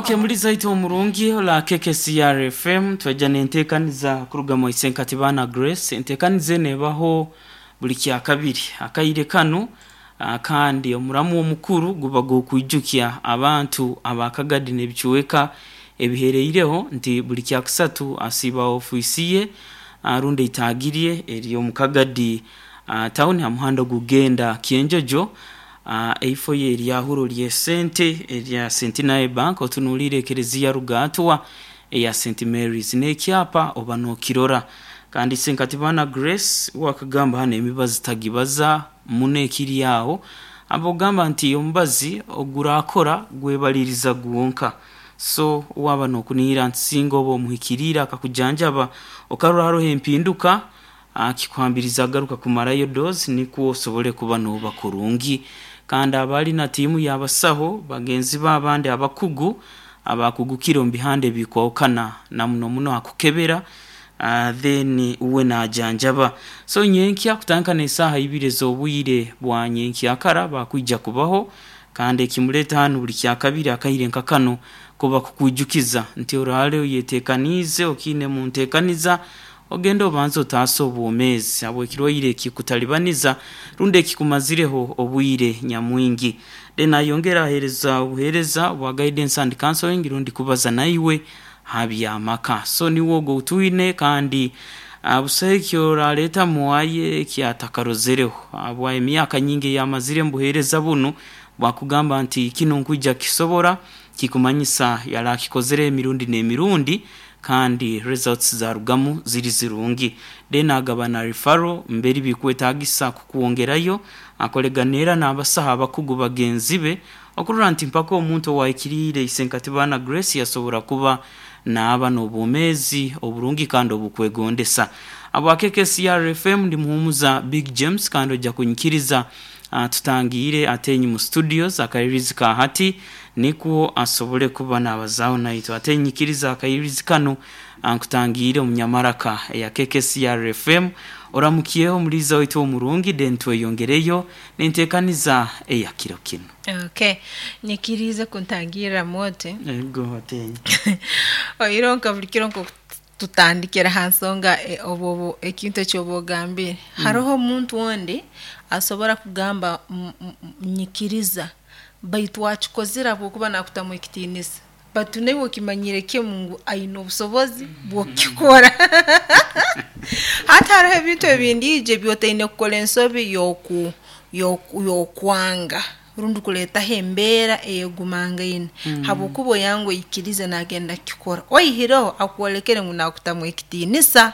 Okay, muliza itu omurungi ola KKCR FM twajja nenteekaniza kuruga mu Isenkatibana Grace. Enteekaniza eno ebaho buli kyakabiri akaire kanu, kandi omuramu omukuru guba gw'okwijukya abantu abakagadi n'ebicweka ebihereireho nti buli kyakusatu asiiba ofiisi ye, rundi eitaagi rye eri omu Kagadi town ha muhanda ogugenda Kyenjojo, eifo ye eryahuro ly'esente erya Centenary Bank otunuliire ekereziya Rugaatwa eya St Mary's n'ekyapa oba n'okirora. Kandi Isenkatibana Grace wakagamba hanu emibazi tagibaza muno ekiri aho, abogamba nti omubazi ogurakora gwebaliriza gwonka. So waba nokunihira nti singa oba omuhikiriire akakujanjaba okarora haroho empinduka, kikuhambiriza agaruka kumarayo dose nikwo osobole kuba noba kurungi. Kandi abali na tiimu y'abasaho bagenzi be abandi abakugu abakugukire omu bihanda ebikwahukana na muno muno hakukebera, then uwe najanjaba. So nyenkya kutandika n'esaaha ibiri ez'obwire bwa nyenkyakara bakwija kubaho, kandi ekimuleta hanu buli kyakabiri akaire nka kano kuba kukwijukiza nti orale oyetekaniize okiine mu ntekaniza ogende obanze otaase obwomeezi habw'ekirwaire ekikutalibaniza rundi ekikumazireho obwire nyamwingi. Then ayongera aheereza obuheereza obwa guidance and counseling rundi kubaza naiwe ha by'amaka. So niwe ogwo outwine kandi busaho ekyoraleeta mwaye ekyatakarozereho habwa emyaka nyingi eyamazire mu buheereza bunu bwakugamba nti kinu nkwija kukisobora, kikumanyisa yali akikozere emirundi n'emirundi kandi results zarugamu ziri zirungi. Then agaba na referral mberi bikwetagisa kukwongerayo, akoregana era n'abasaho abakugu bagenzi be okurora nti mpaka omuntu owahikiriire Isenkatibana Grace yasobora kuba naaba n'obwomeezi oburungi kandi obukwegondesa. Habwa KKCR FM ndi Muhumuza Big James kandi ojja kunyikiriza tutangiire Atenyi mu studios akairirizi ka hati nikwo asobole kuba nabazaaho naitwe. Atenyi nyikiriza akairirizi kanu nkutangiire omu nyamaraka eya KKCR FM oramukyeho omuliiza waitu omurungi then tweyongereyo n'enteekaniza eya kiro kinu. Okay, nyikiriize kuntangirra oti. Ego Atenyi. Oihireho nka buli kiro nk'oku tutandikira ha nsonga obu ekintu eki oba ogambire. Haroho omuntu ondi asobora kugamba nyikiriza baitu akikozire habwokuba nakutamu ekitiinisa, baitu naiwe okimanyire kimu ngu aine obusobozi bw'okukikora. Hati haroho ebintu ebindi ebi otaine kukora ensobi y'okwanga rundi kuleetaho embeera eyegumangaine habwokuba oyanga oikirize nagenda kukikora, oihireho akwolekere ngu nakutamu ekitiinisa.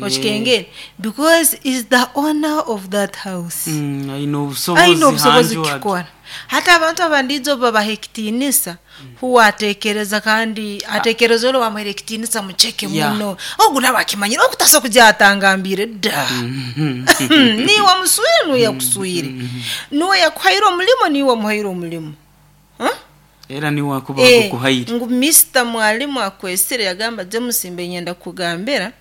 Okikengere because is the owner of that house. Aine obusobozi Aine obusobozi hanju ati. kukikora. Hati abantu abandiijo obu babaha ekitiinisa, huwe ateekereza kandi ateekereza ori owamuhaire ekitiinisa muceke muno. Ogu nawe akimanyire ogu tasobola kugya atangambiire da. Niiwe wamuswire niiwe yakuswire. Niiwe yakuhaire omulimo niiwe wamuhaire omulimo. Huh? Era niwe akuba agukuhaire. Ngu Mister Mwalimu akwesire yagamba James mbe nyenda kukugambira,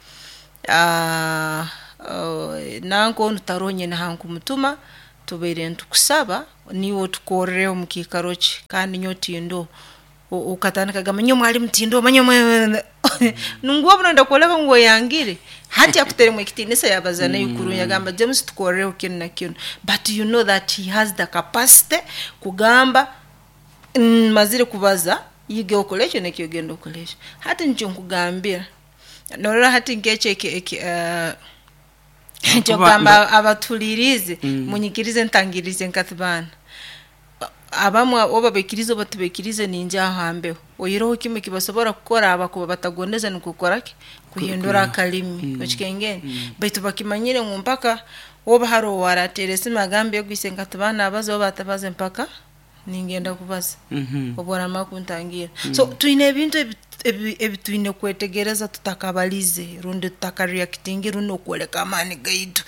nanka onu taroho nyine hankumutuma, tubaire nitukusaba niiwe otukorreho omu kiikaro kye kandi nyowe tindoho. Okatandika kugamba nyowe mwalimu tindoho, manya ngu obu noyenda kwoleka ngu oyangire, hati akuteremu ekitiinisa yabaza naiwe kurungi yagamba James tukorreho kinu na kinu, but you know that he has the capacity kugamba mazire kubaza yiga okole ekyo nekyo ogenda okole ekyo. Hati nikyo nkugambira, norora hati nk'ekyo ekyokugamba abatuhuliriize munyikirize ntangirize nkatibaana. Abamu oba baikirize oba tibaikirize ningya aho ha mbeho. Oihireho kimu ekibasobora kukora abakuba batagondeze nukwo kukora ki? Kuhindura akalimi. Okikengere? Baitu bakimanyire ngu mpaka oba haroho owarateera esimu agambe ego Isenkatibaana abaze oba atabaze mpaka ningenda kubaza obu oramara kuntangira. So twine ebintu ebi twine kwetegereza tutakabalize rundi tutakareactingire rundi n'okwoleka amaani gaitu.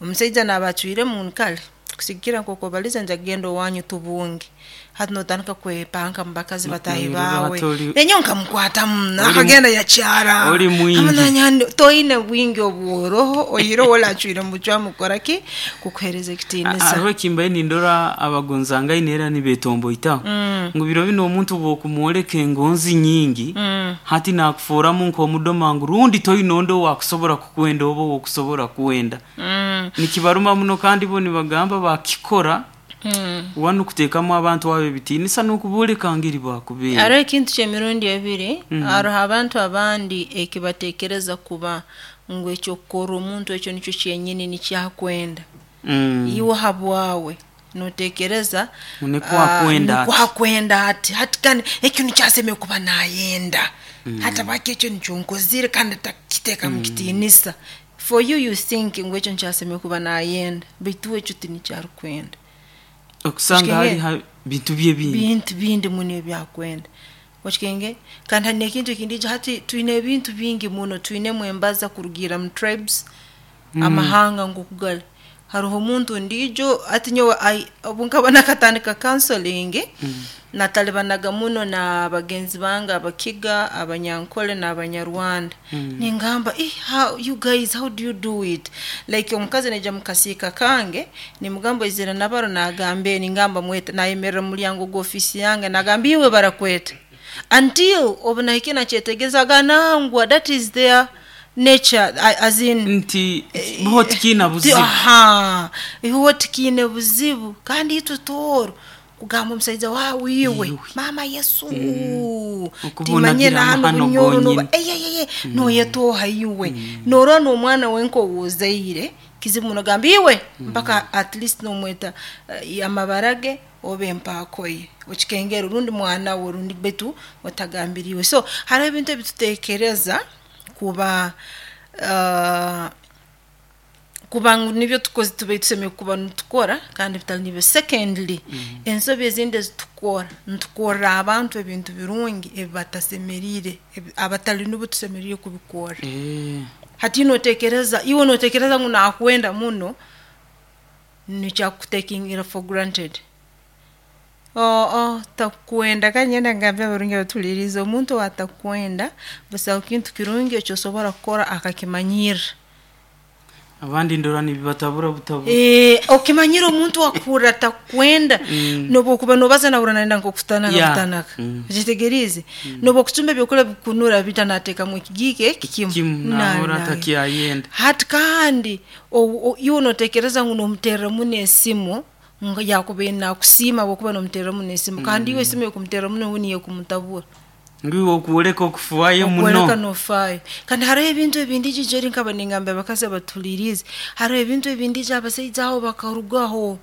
Omusaija naaba acwiremu ngu kare. Kusigikira nk'oku obalize nja kugenda owanyu tubunge. Hati notandika kwepanka mu bakazi bataahi Noirora baawe. hati oli Nenyowe nkamukwatamu oli nakagenda yakyara. oli mwingi. Amananya toine bwingi obworoho oihireho olacwire mucwamu kukora ki? Kukuhereza ekitiinisa. Hariho ekimbaire nindora abagonzangaine era nibetomboitaho ngu biro binu omuntu bwokumwoleka engonzi nyingi hati nakuforamu nk'omudoma ngu rundi toine ondi owakusobora kukwenda oba owokusobora kwenda. Nikibaruma muno kandi bo nibagamba bakikora wanu kuteekamu abantu abo ebitiinisa n'okubooleka ngeri bakubeera. Hariho ekintu ky'emirundi ebiri, hariho abantu abandi ekibateekereza kuba ngu ekyokukorra omuntu ekyo nikyo kyenyini nikyakwenda. Iwe habwawe noteekereza Nikwo akwenda nikwo ati. akwenda ati hati kandi ekyo nikyasemere kuba nayenda. Hati habwaki ekyo nikyo nkozire kandi atakiteekamu kitiinisa. For you you think ngu ekyo nikyasemere kuba nayenda, baitu we ekyo tinikyarukwenda. Okusanga hali Okikengere? ha bintu bye bindi. Bintu bindi muno ebyakwenda. Okikenge? Kandi hari n'ekintu ekindi hati twine ebintu bingi muno, twinemu embaza kurugiira mu tribes, amahanga nk'oku gali. Haroho omuntu ondiijo hati nyowe obu nkaba nakatandika counseling, natalibanaga muno na bagenzi bange Abakiga, Abanyankole n'Abanyarwanda. Ningamba, how you guys, how do you do it? Like omukazi naija mu kasiika kange, nimugamba oizire na baro nagamba ningamba mwete, nayemerera mu mulyango gw'ofiisi yange nagamba iwe barakweta. Until obu nahikire nakyetegereza nangwa that is their nature as in Nti bo tikiina buzibu. Aha, iwe tikiine buzibu kandi itwe tooro kugamba omusaija waawe iwe Iwe. Mama Yesu Okuba timanye onagira nahanu amahano bunyoro noba gonyini. eyeyeye noyetooha iwe norora n'omwana wenka ow'ozaire kizibu muno gamba iwe mpaka at least nomweta amabara ge oba empaako ye okikengera rundi mwana we rundi baitu otagambire iwe. So hariho ebintu ebituteekereza kuba kuba ngu nibyo tubaire tusemeriire kuba nitukora kandi bitali nibyo. Secondly, ensobi ezindi ezitukora, nitukorra abantu ebintu birungi ebibatasemeriire, abatali nubo tusemeriire kubikorra. Hati noteekereza, iwe noteekereza ngu nakwenda muno, nikyo akutekingira for granted. Oo takukwenda kandi nyenda ngambe abarungi abatuhuliriize, omuntu ow'atakwenda busaho kintu kirungi eki osobora kukora akakimanyirra. Abandi ndora nibibatabura butabura. Okimanyire omuntu akuhurra atakwenda, nobu okuba nobaza nahurra nayenda nk'okutanaka butanaka. Okyetegeriize? Nobu okucumba ebyokulya bikunura baitu nateekamu ekigiiko eki kimu. Kimu nahurra atakyayenda. Hati kandi iwe noteekereza ngu nomuterra muno esimu ngu yakubaire nakusiima habwokuba nomuterra muno esimu kandi iwe esimu ey'okumuterra muno we niyo ekumutabura. Ngu iwe okwoleka okufaayo Okwoleka muno. nofaayo. Kandi hariho ebintu ebindi eri nkaba ningamba abakazi abatuhuliriize, hariho ebintu ebindi abasaija abo bakarugaho,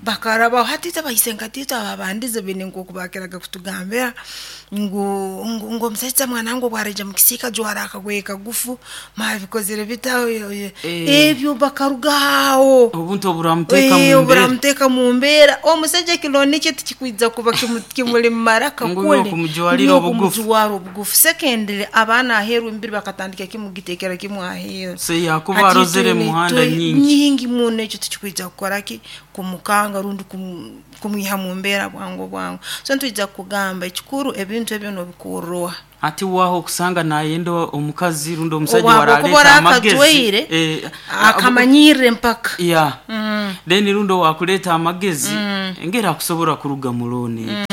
bakarabaho. Hati itwe abaisenkati itwe ababandize baine nk'oku bakiraga kutugambira ngu ngu omusaija mwana wange obu araija mukisiika jwara akagoye kagufu, mwabikozere bita ebyo bakarugaho. Obuntu oburamuteeka mu mbeera. Oburamuteeka mu mbeera. Omusaija ekironi kye tikikwija kuba kimuli mu maraka Ngu iwe kuli okumujwarira obugufu. Okumujwara obugufu. Secondly, abaana aheeru emibiri bakatandika kimu kugiteekera kimu aheeru. Se yakuba Hati arozere twine muhanda nyingi. Nyingi muno ekyo tikikwija kukora ki? Kumukanga rundi kumwiha mu mbeera bwangu bwangu. So nitwija kugamba ekikuru ebintu ebyo nobikorra oha? Hati waho okusanga nayenda omukazi rundi omusaija Obw'akuba waraleeta amagezi. orakajwaire, akamanyirra empaka. Yeah. Then rundi owakuleeta amagezi engeri akusobora kuruga mu looni egi.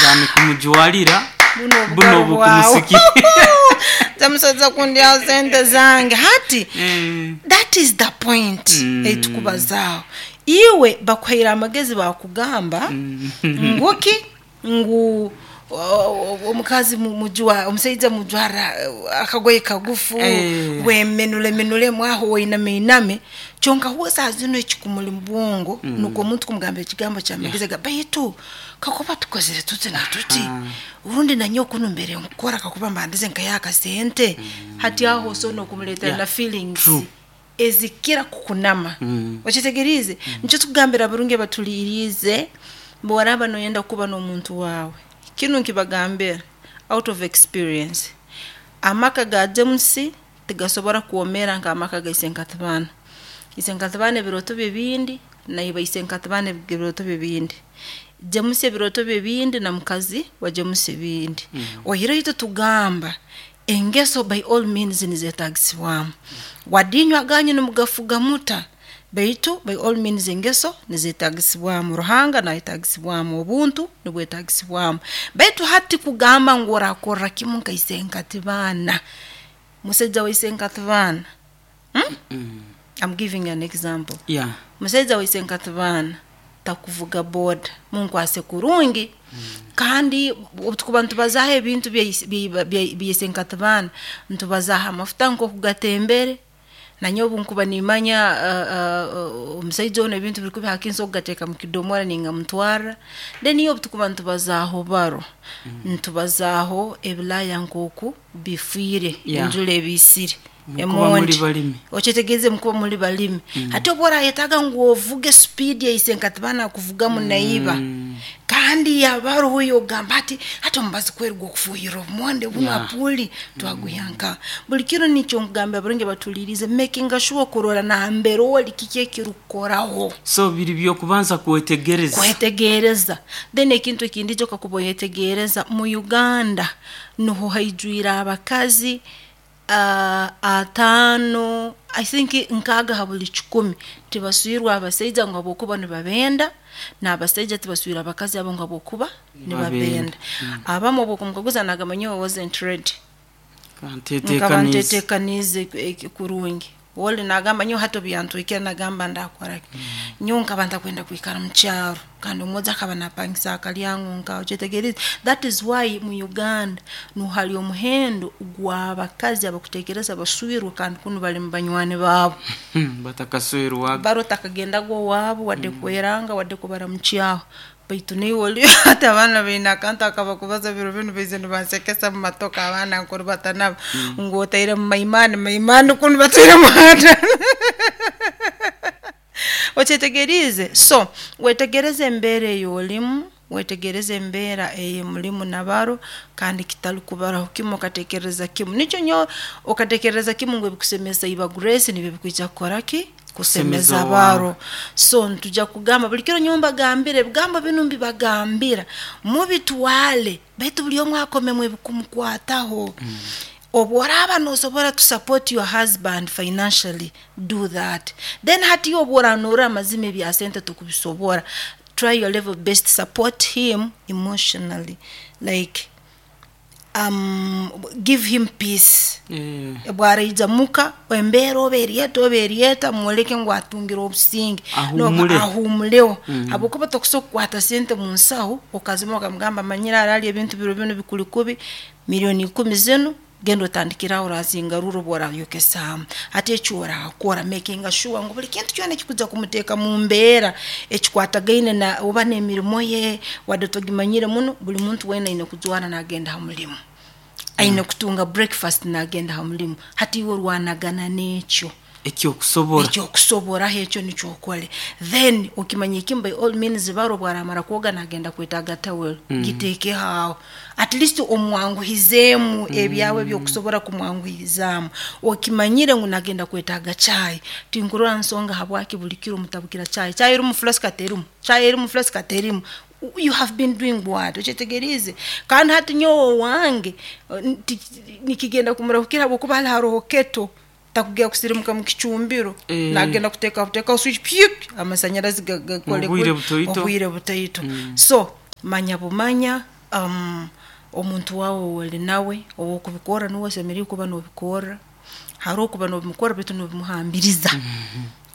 Yani kumujwarira Buno buno obugaru bwawe. obukumusiki. Nze kundyaho sente zange. Hati that is the point etukubazaaho. Iwe bakuhaire amagezi bakugamba nguki ngu omukazi mujwa omusaija mujwara akagoye kagufu wemenule menulemu aho weiname iname kyonka huwe saa zino ekikumuli mu bwongo nukwo omuntu kumugamba ekigambo kyamagezi ga baitu kakuba tukozere tuti na tuti rundi nanyowe kunu mbere nkukora kakuba mbandize nkayiha akasente. Hati aho osobola n'okumuleetera na feelings ezikira kukunama. Okyetegeriize? Nikyo tukugambira abarungi abatuliiriize, bw'oraaba noyenda kuba n'omuntu waawe, kinu nkibagambira out of experience. Amaka ga James tigasobora kwomeera nk'amaka ga isenkatibaana. Isenkatibaana ebirooto bye bindi, naiba isenkatibaana ebirooto bye bindi. James ebirooto bye bindi na mukazi wa James ebindi. Oihireho itwe tugamba engeso by all means nizeetaagisibwamu. Wadde inywe aganyu nimugafuga muta, baitu by all means engeso nizeetaagisibwamu, Ruhanga naayetaagisibwamu, obuntu nibwetaagisibwamu. Baitu hati kugamba ngu oraakorra kimu nka isenkatibaana, musaija wa isenkatibaana, I'm giving an example. Musaija wa isenkatibaana takuvuga boda, munkwase kurungi. Kandi obu tukuba nitubazaaho ebintu bya isenkatibaana, nitubazaaho amafuta nkooku gatembere, nanyowe obu nkuba nimanya omusaija onu ebintu biri kubi hati nsobora kugateeka mu kidomora ningamutwarra. Then obu tukuba nitubazaaho baro, nitubazaaho ebilaaya nkooku bifiire, enjura ebiisire, Mukuba muli emondi. balimi. Okyetegereze mukuba muli balimi. Hati obu oraayetaaga ngu ovuge supiidi ya isenkatibaana akuvugamu naiba, kandi yaba haroho ogamba ati hati omubazi kweri gw'okufuuhirra obumonde bunu apuuli twagwiha nkaha. Buli kiro nikyo nkugambira abarungi abatuhuliiriize, makinga sure kurora nambere oli kiki ekirukukoraho. So biri by'okubanza kwetegereza. Kwetegereza. Then ekintu ekindi ikyo kakuba oyetegereza, mu Uganda nuho haijwire abakazi ataano, I think nkaaga ha buli kikumi tibaswirwe abasaija ngu habwokuba nibabenda, n'abasaija tibaswire abakazi abo ngu habwokuba nibabenda. Abamu obu okumukaguza naagamba nyowe I wasn't ready. Nkaba Nkaba ntetekaniize. ntetekaniize kurungi. Oli naagamba nyowe hati obu yantwikire nagamba ndaakora ki. Nyowe nkaba ntakwenda kwikara mu kyaro kandi omwojo akaba naapangisa akalyango nkaho, okyetegeriize? That is why mu Uganda nuho hali omuhendo gw'abakazi abakuteekereza baswirwe kandi kunu bali mu banywani baabo. Batakaswerwaga. Baro takagendaga owaabu wadde kweranga wadde kubaramukyaho. Baitu naiwe oli hati abaana baine akantu akabakubaza biro binu baizire nibansekesa mu matoka abaana nkurubata nabo ngu otairemu maimani maimani kunu batairemu hata. Okyetegeriize? So wetegereze embeera ei olimu, wetegereze embeera ei mulimu na baro, kandi kitali kubaraho kimu okateekereza kimu. Nikyo nyowe okateekereza kimu ngu ebikusemeza iba Grace nibyo bikwija kukora ki? Kusemeza Kusemeza baro. So nitujya kugamba buli kiro nyowe mbagambira ebigambo binu mbibagambira, mubitwale baitu buli omu akomemu ebikumukwataho. Obu oraaba noosobora to support your husband financially, do that. Then hati iwe obu oranorora amazima ebya sente tokubisobora, try your level best support him emotionally, like give him peace. Obu araija muka, embeera oba eri eta oba eri eta, mwoleke ngu atungire obusinge, Ahuumule. Ahuumuleho. Habwokuba tokusobora kukwata sente mu nsaho okazima okamugamba manyire haraali ebintu biro binu bikuli kubi, milioni ikumi zinu genda otandikire aho orazingarurra obu orayokesaamu. Hati eki oraakora makinga sure ngu buli kintu kyona ekikujya kumuteeka mu mbeera ekikwatagaine na oba n'emirimo ye, wadde togimanyire muno, buli muntu weena aine kujwara naagenda ha mulimo. Aine kutunga breakfast naagenda ha mulimo. Hati iwe orwanagana n'ekyo. Ekyokusobora. Ekyokusoboraho ekyo nikyo okole. Then okimanye kimu by all means baro obu araamara kwoga naagenda kwetaaga towel, giteekeho aho. At least omwanguhizeemu ebyawe eby'okusobora kumwanguhirizaamu. Okimanyire ngu naagenda kwetaaga chai, tinkurora nsonga habwaki buli kiro mutabukira chai. Chai erumu flask terimu, chai erimu flask terimu. You have been doing what? Okyetegeriize? Kandi hati nyowe owange nikigenda kumurahukira habwokuba hali haroho keto, takugenda kusirimuka mu kicumbiro, naagenda kuteekaho switch pyup, amasanyarazi gakole Obwire butoito. Obwire butoito. So manya bumanya omuntu waawe ou oli nawe, ow'okubikorra nuwe osemeriire kuba noobikorra, haroho kuba noobimukorra baitu noobimuhambiriza.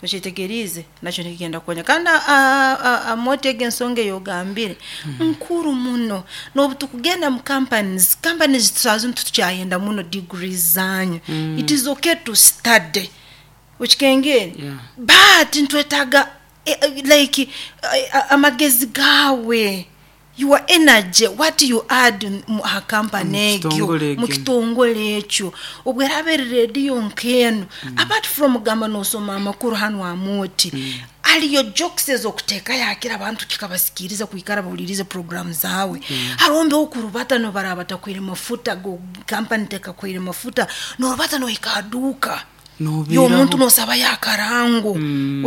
Okyetegeriize? Nakyo nikigenda kukoonya. Kandi Amooti egi ensonga ei ogambire nkuru muno. N'obu tukugenda mu companies, companies saaha zinu titukyayenda muno degrees zanyu. It is okay to study. Okikengere? But nitwetaaga like amagezi gaawe, your energy, what you add ha company egyo, Mukitongole mu ekyo. kitongole ekyo. Obu eraaba eri rediyo nk'enu, apart from kugamba noosoma amakuru hanu Amooti, haliyo jokes ez'okuteekayo hakira abantu kikabasikiriza kwikara bahuliirize program zaawe. Haroho mbeho okurubata nobu baraaba batakuhaire mafuta, company tekakuhaire mafuta, noorubata nohika ha duuka. Y'omuntu nosaba yakarango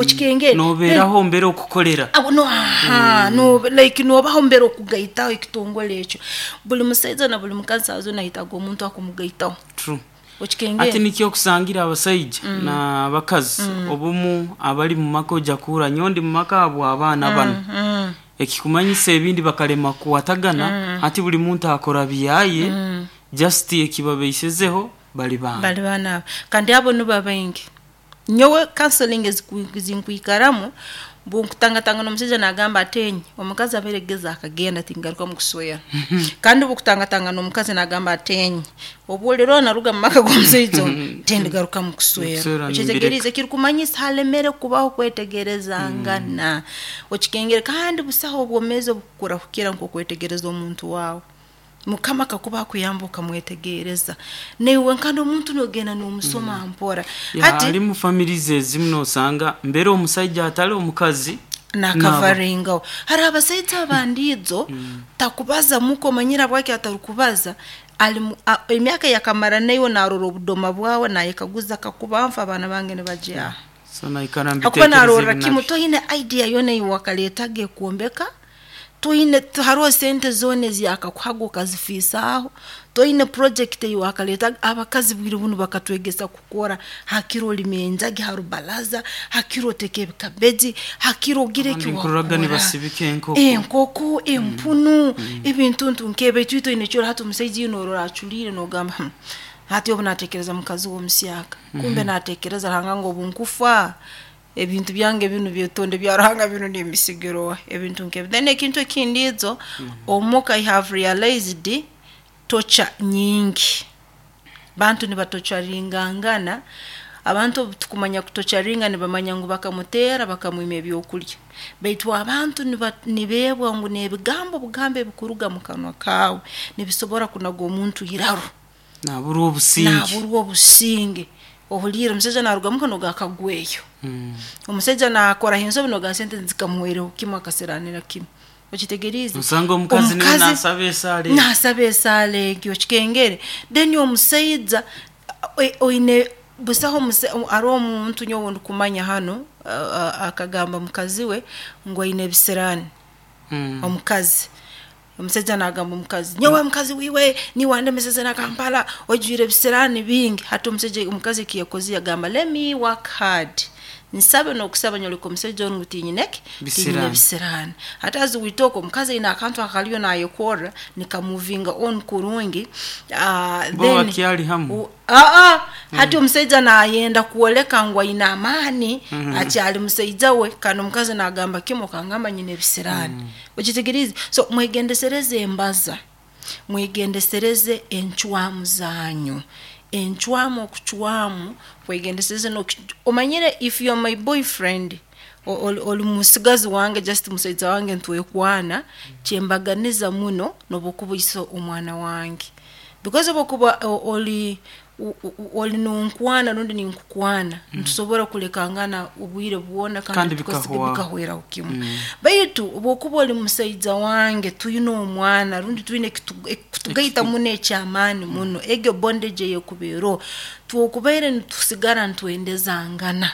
okikengere. Nobeeraho mbere okukolera. Abo no aha no like nobaho mbere okugaitaho ekitongole ekyo. Buli musaija na buli mukazi saaha zoona ayetaaga omuntu akumugaitaho. True. Okikengere. Ati nikyo okusangira abasaija n'abakazi obumu abali mu maka ojja kuhurra nyowe ndi mu maka habw'abaana banu. Ekikumanyisa ebindi bakalema kukwatagana, hati buli muntu akora byaye, just ekibabeisezeho bali baana. Bali baana abo. Kandi abo nibo baingi. Nyowe counseling ezinkwikaramu, bunkutangatangana omusaija nagamba ati enye omukazi abaire geza akagenda tingarukamu kuswera. Kandi obukutangatangana omukazi nagamba ati enye obu olirora naruga mu maka g'omusaija onu tindigarukamu kuswera. Kuswera. Okyetegeriize, ekirukumanyisa halemere kubaho kwetegerezangana. Okikengere, kandi busaho obwomeezi obukurahukira nk'okwetegereza omuntu waawe. Mukama kakuba akuyamba okamwetegereza, naiwe kandi omuntu nogenda n'omusoma mpora. Hati halimu families ezimu nosanga mbere omusaija atali omukazi nakavaringaho. Hariho abasaija abandiijo takubaza muka, omanyire habwaki atarukubaza? Ali emyaka yakamara naiwe narora obudoma bwawe, nayekaguza kakuba nfa abaana bange nibagyaha. So naikara Hakuba narorra mbitekereza. Kimu toine idea yoona ei wakaleetaga ekwombeka, toine haroho sente zoona eziyakakuhaga okazifiisaaho, toine project ei wakaleetaga. Abakazi bwire bunu bakatwegesa kukora, hakiro olima enjagi ha rubalaza, hakiro oteeka ebikabeji, hakiro ogira Abandi nkuroraga eki wakora. Nibasibika enkoko. Enkoko, empunu, ebintu nk'ebi, baitu itwe oine ekyoro. Hati omusaija iwe norora aculiire nogamba, hati obu natekereza mukazi we omusyaka, kumbe natekereza Ruhanga ngu obu nkufa ebintu byange binu byetonde bya Ruhanga binu nimbisigira oha, ebintu nk'ebi. Then ekintu ekindi ijo omuka, I have realized torture nyingi. Bantu nibatocharingangana. Abantu obu tukumanya kutocharinga nibamanya ngu bakamuteera, bakamwima ebyokulya, baitu abantu nibeebwa ngu n'ebigambo bugambo ebikuruga mu kanwa kaawe nibisobora kunaga omuntu iraro. Naburwa obusinge. Naburwa obusinge. Ohuliire omusaija naruga muka noga akagweyo, omusaija nakoraho ensobi noga sente zikamuhwereho kimu, akasiranira kimu. Okitegeriize? Osanga omukazi niwe nasaba esaala egyo. Nasaba esaala egyo, okikengere. Then omusaija oine busaho haroho omuntu nyowe ndikumanya hanu akagamba mukazi we ngu aine ebisiraani. Omukazi, omusaija nagamba omukazi, nyowe mukazi wiwe niwe wandemeseze na Kampala, oijwire ebisiraani bingi. Hati omusaija, omukazi eki yakozire yagamba, let me work hard, nsabe n'okusaba nyoleka omusaija onu ngu tinyine ki, tinyine Bisiraani. Bisiraani. Hati as we talk, omukazi aine akantu akaliyo nayekorra nikamuvinga on kurungi. Bo Then bakyali hamu? Aa, hati omusaija nayenda kwoleka ngu aine amaani, akyali musaija we, kandi omukazi nagamba kimu, okangamba nyine ebisiraani. Okitegeriize? So mwegendesereze embaza, mwegendesereze encwamu zanyu, encwamu okucwamu kwegendesereze. Omanyire, if you are my boyfriend, oli musigazi wange, just musaija wange ntwekwana, kyembaganiza muno n'obukuba oise omwana wange, because obukuba oli oli nonkwana rundi ninkukwana, nitusobora kulekangana obwire bwona kandi kandi tukasiga bikahwaho. Bikahweraho kimu. Baitu obwokuba oli musaija wange, twine omwana rundi twine ekitugaita muno ekyamaani muno, egyo bondage eyekubeeroho, twokubaire nitusigara nitwendezangana,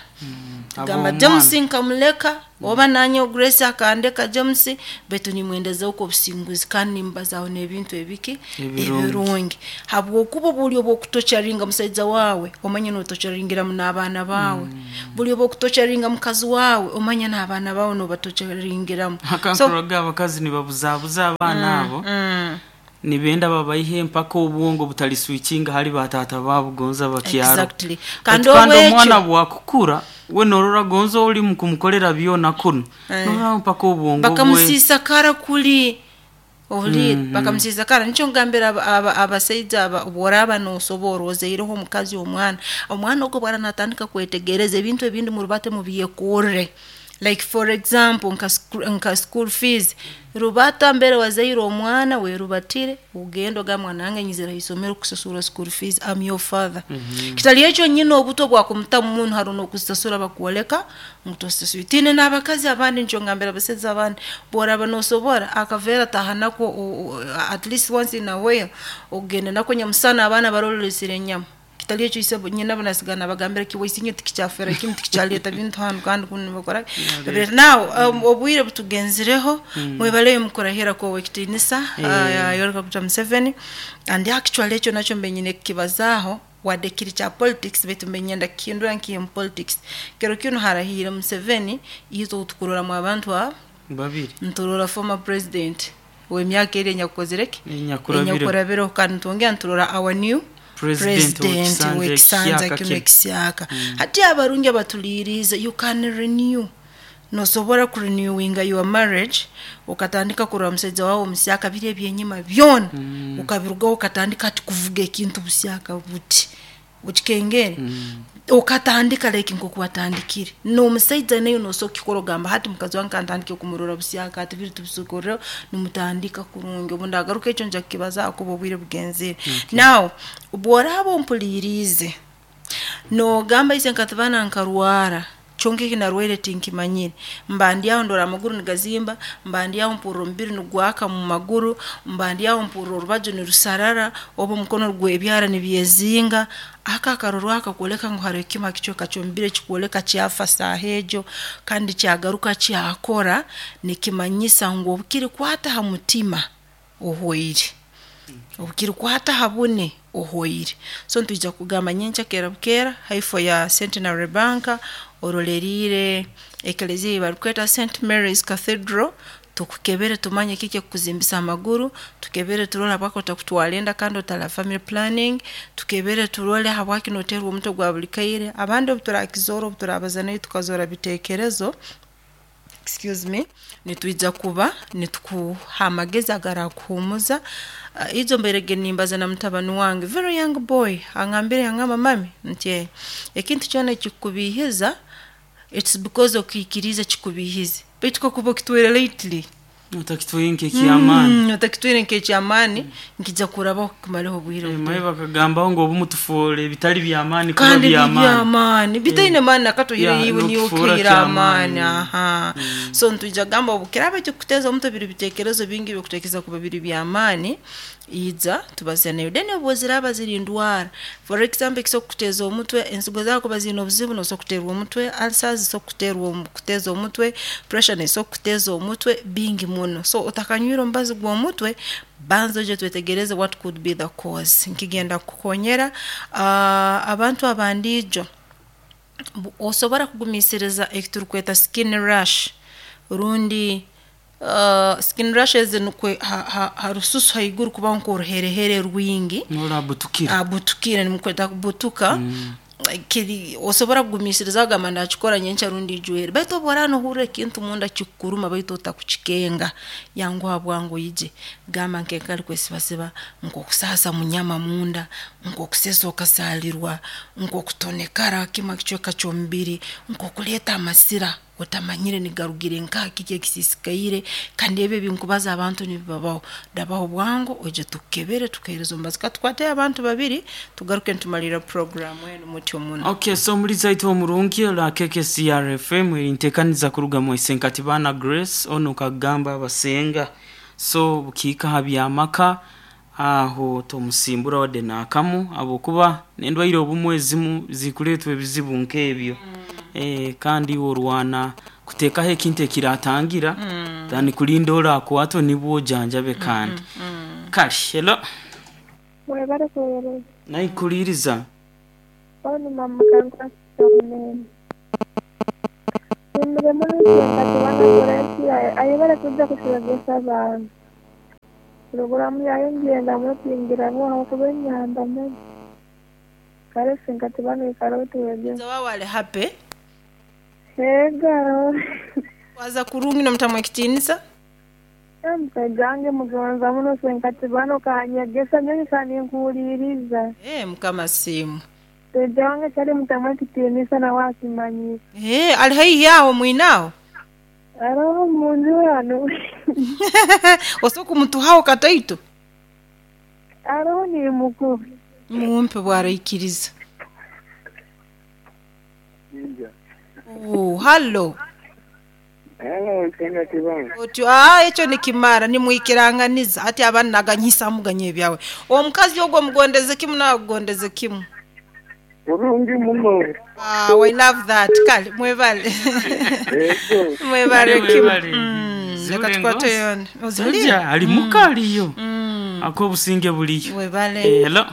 gamba Habw'omwana. James nkamuleka oba nanye Grace akandeka James, baitu nimwendezaho obusinguzi kandi nimbazaho n'ebintu ebiki Ebirungi. Ebirungi, habwokuba buli obwokutocharinga musaija wawe, omanye notocharingiramu n'abaana bawe. Buli obwokutocharinga mukazi wawe, omanye n'abaana bawe nobatocharingiramu. So Akankuroraga abakazi nibabuzabuza abaana abo, nibenda babaihe mpaka obwongo butaliswikinga hali batata baabo gonza bakyaro. Exactly. Kandi kandi omwana obwekyo bwakukura we norora gonza oli mukumukolera byona kuno, norora mpaka obwongo bwe Bakamusiisa kara kuli ohuliire, bakamusiisa kara. Nikyo ngambira abasaija aba, obworaaba nosobora ozaireho omukazi omwana, omwana ogwo bwara natandika kwetegereza ebintu ebindi, murubate mubyekorre. Like for example nka school fees, rubata mbere wazaire omwana werubatire, ogenda ogamba, mwana wange nyizire haisomero kusasura school fees, am your father. Kitali ekyo nyina obuto bwakumutamu munu, haro n'okuzisasura bakwoleka ngu tosasura. Tine n'abakazi abandi, nikyo ngambira abasaija abandi, bworaba nosobora akaveera taha nako at least once in a while, ogende nako nyamusana abaana barole olesere enyama. Kitali ekyo isebo nyinabo nasigara nabagambira kiwaisinye tikikyafera kimu, tikikyaleeta bintu hanu kandi kunu nibakora. Now obwire butugenzireho. Mwebaleyo mukurahira kwowekitiinisa Yoweri Kaguta Museveni. And actually ekyo nakyo mbe nyine kukibazaaho, wadde kiri kya politics, baitu mbe nyenda kukihindura nkihe mu politics. Kiro kinu harahiire Museveni, itwe tukuroramu abantu abo babiri. Nturora former president w'emyaka eri enyakukozire ki? Enyakurabire. Enyakurabire. Kandi ntwongera nturora our new president president w'ekisanja w'ekisanja ekishyaka kinu kinu. Ekishyaka. Hati abarungi abatuliirize, you can renew, nosobora kurenewinga your marriage, okatandika kurora musaija wawe omusyaka, biri ebyenyima byona ukabirugaho, okatandika hati kuvuga ekintu busyaka buti ukikengere, ukatandika like nkoku watandikire n'omusaija. Nayo nosobola kukikora, ogamba hati mukazi wange kantandike kumurora busyaka, hati biri tubisukurreho, nimutandika kurungi. Obu ndagaruka ekyo nja kukibazaho kuba obwire bugenzire. Now obworaaba ompuliriize nogamba, ise nkatibana nkarwara, kyonka eki narwaire tinkimanyire, mba ndi aho ndora amaguru nigazimba, mba ndi aho mpurra omubiri nigwaka mu maguru, mba ndi aho mpurra orubaju nirusarara oba omukono gwebyara nibyezinga, aka akarorwaho akakwoleka ngu haroho ekimu ha kicweka ky'omubiri ekikwoleka kyafa saaha egyo kandi kyagaruka kyakora, nikimanyisa ngu obukirikwata ha mutima ohwaire, obukirikwata ha bune ohwaire. So nitwija kugamba nyenkya kera bukeera haifo ya Centenary Bank, oroleriire ekeleziya ei barukweta St Mary's Cathedral, tukukebere tumanye kiki ekikuzimbisa amaguru, tukebere turole habwaki otakutwara enda kandi otara family planning, tukebere turole habwaki noteerwa omutwe gwa buli kaire. Abandi obu turakizoora, obu turabaza nawe tukazoora biteekerezo, excuse me, nitwija kuba nitukuha amagezi agarakuhuumuza. Ijo mbairege nimbaza na mutabani wange, very young boy, angambire, yangamba, "Mami," nti ekintu kyona ekikubiihiza, it's because okiikiriize kikubiihize, baitu kakuba okitwaire lightly, otakitwaire nk'ekyamaani. Otakitwaire nk'ekyamaani, nkija kurabaho kumareho obwire maye butono. Bakagambaho ngu obumu tufoora ebitali byamaani kuba kandi byamaani. Bibyamaani bitaine maani nakatoire, iwe niwe n'okufuura okihaire kyamaani. Amaani aha. So nitwija kugamba obu kiraba ekikuteza omutwe biri bitekerezo bingi bikutekereza kuba biri byamaani, ija tubaze nayo. Then obu ziraba ziri ndwara, for example, ekisobola kukuteza omutwe, ensigo zawe kuba ziine obuzibu, nosobola kuterwa omutwe, ulcers zisobola kuterwa kuteza omutwe, pressure nesobola kuteza omutwe, bingi muno. So otakanywire omubazi gw'omutwe, banza oije twetegereze what could be the cause, nkigenda kukukonyera. Abantu abandiijo osobora kugumiisiriza ekiturukweta skin rash rundi skin rashes, nukwe ha rususu haiguru kubaho nk'oruherehere rwingi. Norabutukira. Abutukire, nimukweta kubutuka. Kiri osobora kugumiisiriza ogamba ndakikora nyenkya rundi ijwere, baitu obu oraaba nohurra ekintu munda kikukuruma baitu otakukikenga, yanguha bwangu oije. Gamba nk'enkari kwesibasiba, nk'okusaasa munyama munda, nk'okusesa okasaalirwa, nk'okutonekara kimu ha kicweka ky'omubiri, nk'okuleeta amasira otamanyire nigarugire nkaha, kiki ekisiisikaire. Kandi ebi ebinkubaza abantu nibibabaho, rabaho bwangu oije tukukebere, tukuheereze omubazi. Katukwateyo abantu babiri tugaruke nitumalirra puroguramu enu mutyo muno. Okay, so muliza itwe omurungi la KKCR FM, entekaniza kuruga mu Isenkatibana Grace, ono kagamba abasenga, so bukiika ha byamaka aho tomusimbura wadde naakamu, habwokuba n'endwaire obumwe ezimu zikuleetwa ebizibu nk'ebyo. Kandi iwe orwana kuteekaho ekintu ekiratangira than kulinda orakwatwe nibwo ojanjabe. Kandi kale, hello. Mwebale kuweereza. Naikuliiriza. Onu mama kankwasomene. Nimire muno Isenkatibana Grace, ayebale kujja kutwegesa abaana. Puroguramu yayo ngenda mutingira ahabwokuba enyamba muno. Kale Isenkatibana oikare otwegese. Wawe ali happy. Ego. Waza kurungi nomutamu ekitiinisa. Omusaija wange mugonza muno Isenkatibana, okanyegesa nyowe ninkuhuliiriza. Mukama asiimwe. Musaija wange kyali mutamu ekitiinisa nawe akimanyire. Ali haihi aho mwinaaho? Aroho munju hanu. Osobola kumutuhaho kataito? Aroho nimukuha. Mumpe bwaraikiriza. Oh, hallo. Hello, Isenkatibana. Otyo ekyo nikimara nimwikiranganiza hati abandi naganyisamu ganya ebyawe, omukazi ogwo omugondeze kimu, nawe agugondeze kimu. Kurungi muno. Wow, I love that. Kale mwebale. Ego. Mwebale Kale kimu. mwebale. Leka Zule tukwate ngozi. yona. Ozihulire? Sajja ali muka aliyo akobusinge buliyo. Webale. Hello.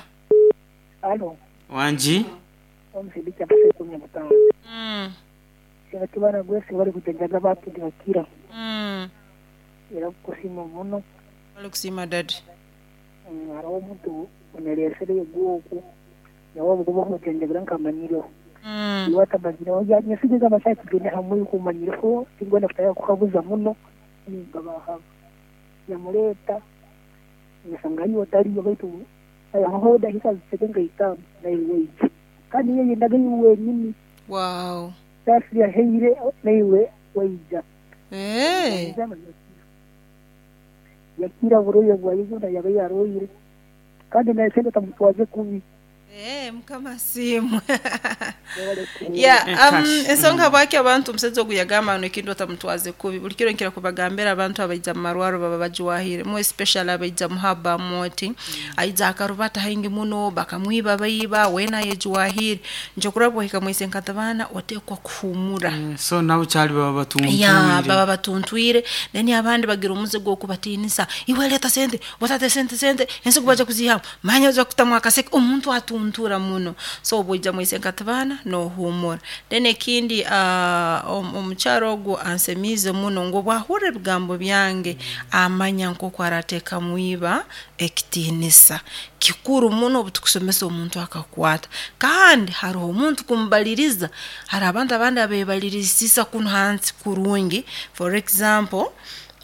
Alo, Wangi. omusindika abasekumi mutano. Sengatibana gwese bari kujanjaga batundi bakira. Era kusima muno. Wali kusiima dadi. Hariho omuntu oneresere egwoku. Nawe obugoba kumujanjabira nkamanyireho. Iwe atamanyireho nyesigeza amasaha kugenda hamwe kumanyireho tingwenda kutaka kukabuza muno ningabahaba. Yamuleeta ngasanga ariyo otariyo baitu aho dakika ziseke nka itaano naiwe waija. Kandi ye yendaga iwe wenyini. Wow. Sasi yaheire naiwe waija. Eh. Yakira buroye bwayizo yaba yaroyire kandi naye sente tamutwaze kubi. Eh, mukama siimwe. Yeah, Cash. ensonga bwaki abantu omusajja ogu yagamba no ekintu otamutwaze kubi buli kiro nkira kubagambira abantu abaija mu marwaro baba bajuwahire mu especially abaija mu haba moti aija akarubata haingi muno bakamwiba baiba wena yejuwahire nje kuraba ohika mwise nkatabana otekwa kuhumura. So nabo kyali baba batuntwire. Ya baba batuntwire, then abandi bagira omuze gw'okubatinisa, iwe leta sente watate sente sente ensigo baja kuzihamu manya oja kutamu akaseke omuntu atuntura muno. So obwoija mwise nkatabana nohumura. Then ekindi omukyaro ogwo ansemiize muno ngu obwahurra ebigambo byange amanya nk'oku arateeka mwiba ekitiinisa kikuru muno obutukusomesa omuntu akakwata. Kandi hariho omuntu kumubaliriza, hari abantu abandi abebalirisisa kunu hansi kurungi. For example,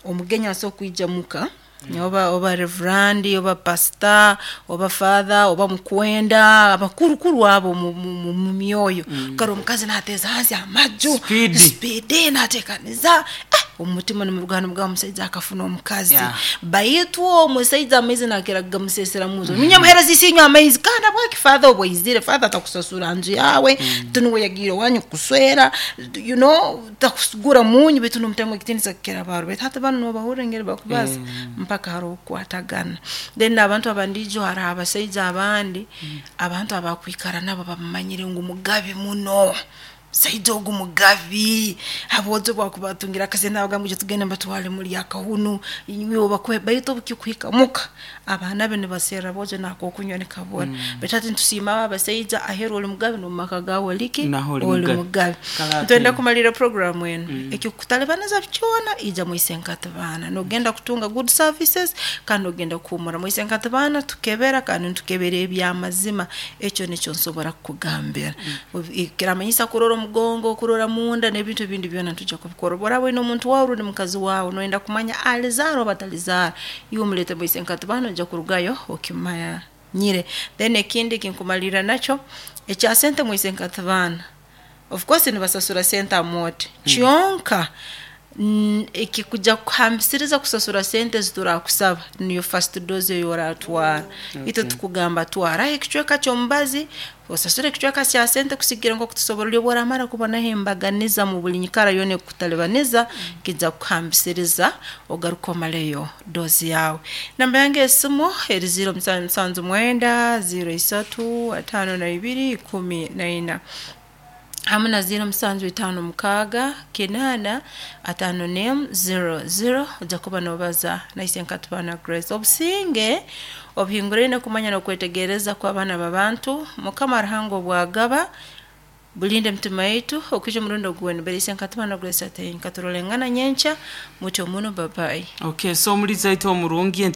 omugenyi asobola kwija muka oba reverandi oba pastor oba father oba mukwenda abakurukuru abo mu myoyo. Kare omukazi nateeza hansi amaju Speed. Speed nateekaniza omutima nimurugana mugaba omusaija akafuna omukazi. Baitu omusaija amaizi nakira gamusesera muzo minyamuhereza isinywa amaizi kandi abwaki father obwaizire father atakusasura nju yawe tunuwe yagiire wanyu kuswera you know takugura munyu baitu nomutemu ekitinisa kukira baro baitu hati banu nobahurra engeri bakubaza mpaka hariho okukwatagana. Then abantu abandiijo hariho abasaija abandi abantu abakwikara nabo bamumanyire ngu mugabi muno saija ogu mugabi abojo bwakubatungira akasente abagamba ije tugende mbatwale muri akahunu inywe bakwe baitu obukikuhika muka abaana be nibaserra bojo nakokunywa nikabona. Baitu hati nitusiima aba abasaija aheru oli mugabi nomumaka gawe oliki Naho oli oli mugabi. mugabi. Kalate. Ntwenda kumalira programu enu ekikutalibaniza kyona ija mwise nkatibana nogenda kutunga good services kandi ogenda kuhumura mwise nkatibana tukebera kandi ntukebera ebyamazima ekyo nikyo nsobora kukugambira. Kiramanyisa kurora omugongo kurora munda n'ebintu ebindi byona ntujja kubikora obu oraba oine omuntu wawe rundi mukazi wawe noyenda kumanya alizaara oba atalizaara iwe omulete mwise nkatibana ojja kurugayo okimanyire. Then ekindi kinkumalira nakyo ekya sente mwise nkatibana of course nibasasura sente amote kyonka ekikuja kuhambisiriza kusasura sente ziturakusaba niyo first dose eyoratwara. Itwe tukugamba twara ekicweka ky'omubazi osasure ekicweka kya sente kusigira nkoku tusobora ori obu oramara kubonaho embaganiza mu buli nyikara yoona ekukutalibaniza kijja kukuhambisiriza ogaruka omaleyo dozi yawe. Namba yange esimu eri 0779 03 52 14 hamwe na 0756 8 5 00 ojja kuba nobaza naise nkatubana Grace. Obusinge obuhinguraine kumanya n'okwetegereza kw'abaana b'abantu mukama Ruhanga obwagaba bulinde emitima yaitu okwija omurundi oguweni beriise nkatubana Grace ate nkaturolengana nyenkya mutyo muno babayi. Okay, so omuliza aitu omurungi ente.